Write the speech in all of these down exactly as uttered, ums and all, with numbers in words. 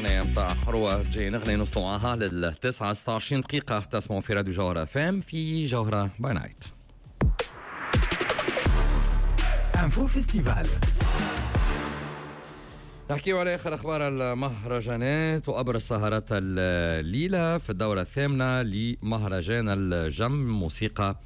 الأغنية متاع حروة جاي نغني نوصلوا معاها للتسعة ستة وعشرين دقيقة. تسمعوا في راديو جوهرة FM في جوهرة by night. Info Festival. نحكيو على اخر اخبار المهرجانات وابرز سهرات الليلة في الدورة الثامنة لمهرجان الجم موسيقى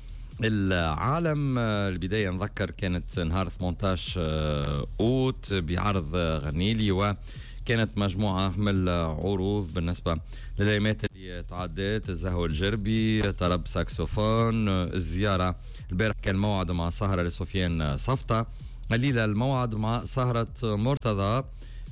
العالم. البداية نذكر كانت نهار ثمانية عشر اوت بعرض غنيلي، وكانت مجموعة من العروض بالنسبة للايامات اللي تعدت: الزهو الجربي، طرب ساكسوفون، الزيارة البارح كان موعد مع سهره لسفيان صفطه، الليلة الموعد مع سهره مرتضى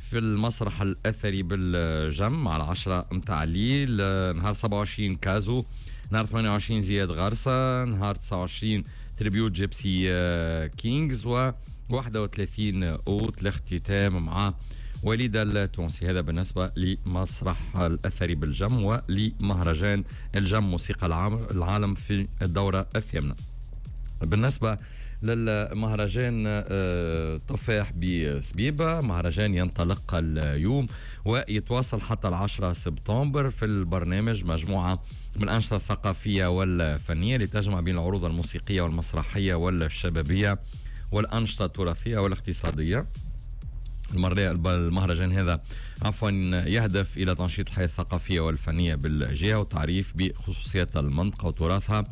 في المسرح الأثري بالجم على عشرة متاع الليل. نهار سبعة وعشرين كازو، نهار ثمانية وعشرين زياد غرسة، نهار تسعة وعشرين Tribute Gipsy Kings، و واحد وثلاثين أوت الاختتام مع وليد التونسي. هذا بالنسبة لمسرح الأثري بالجم ولمهرجان الجم موسيقى العالم في الدورة الثامنة. بالنسبة للمهرجان تفاح بسبيبة، مهرجان ينطلق اليوم ويتواصل حتى العشرة سبتمبر. في البرنامج مجموعة من الأنشطة الثقافية والفنية لتجمع بين العروض الموسيقية والمسرحية والشبابية والأنشطة التراثية والاقتصادية. المهرجان هذا عفوا يهدف إلى تنشيط الحياة الثقافية والفنية بالجهة والتعريف بخصوصيات المنطقة وتراثها،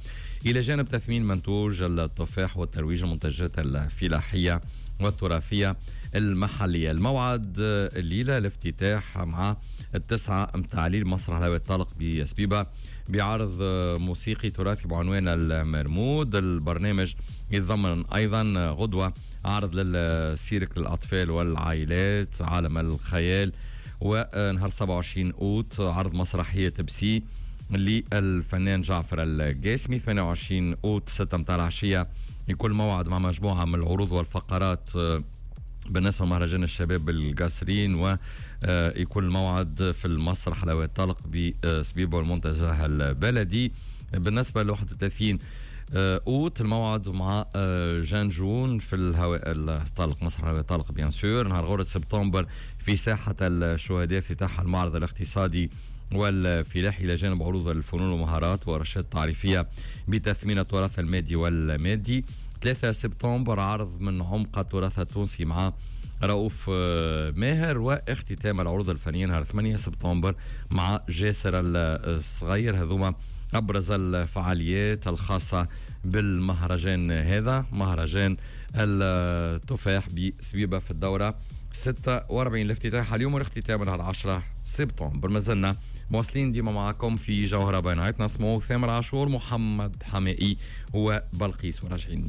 إلى جانب تثمين منتوج التفاح والترويج المنتجات الفلاحية والتراثية المحلية. الموعد الليلة الافتتاح مع التسعة متاع الليل مسرح الهواء الطلق بسبيبة بعرض موسيقي تراثي بعنوان المرمود. البرنامج يتضمن أيضا غدوة عرض للسيرك للأطفال والعائلات عالم الخيال، ونهار سبعة وعشرين أوت عرض مسرحية بسي للفنان جعفر القاسمي. ثمانية وعشرين أوت ستة متاع العشية يكون موعد مع مجموعة من العروض والفقرات بالنسبة لمهرجان الشباب بالقاسرين، ويكون الموعد في المسرح الهواء الطلق بسبيبة والمنتزه البلدي. بالنسبة ل واحد وثلاثين أوت الموعد مع جانجون في الهواء الطلق مسرح الهواء الطلق bien sûr. نهار غورة سبتمبر في ساحة الشهداء افتتاح المعرض الاقتصادي والفلاحي إلى جانب عروض الفنون والمهارات ورشات تعريفية بتثمين التراث المادي والمادي. ثلاثة سبتمبر عرض من عمق التراث التونسي مع رؤوف ماهر، واختتام العروض الفنية نهار ثمانية سبتمبر مع جاسر الصغير. هذوما أبرز الفعاليات الخاصة بالمهرجان هذا، مهرجان التفاح بسبيبة في الدورة ستة وأربعين. الافتتاح اليوم والاختتام نهار عشرة سبتمبر. ما زلنا مواصلين ديما معكم في جوهرة by night. نسمعوا ثامر عاشور، محمد حمائي وبلقيس، وراجعين.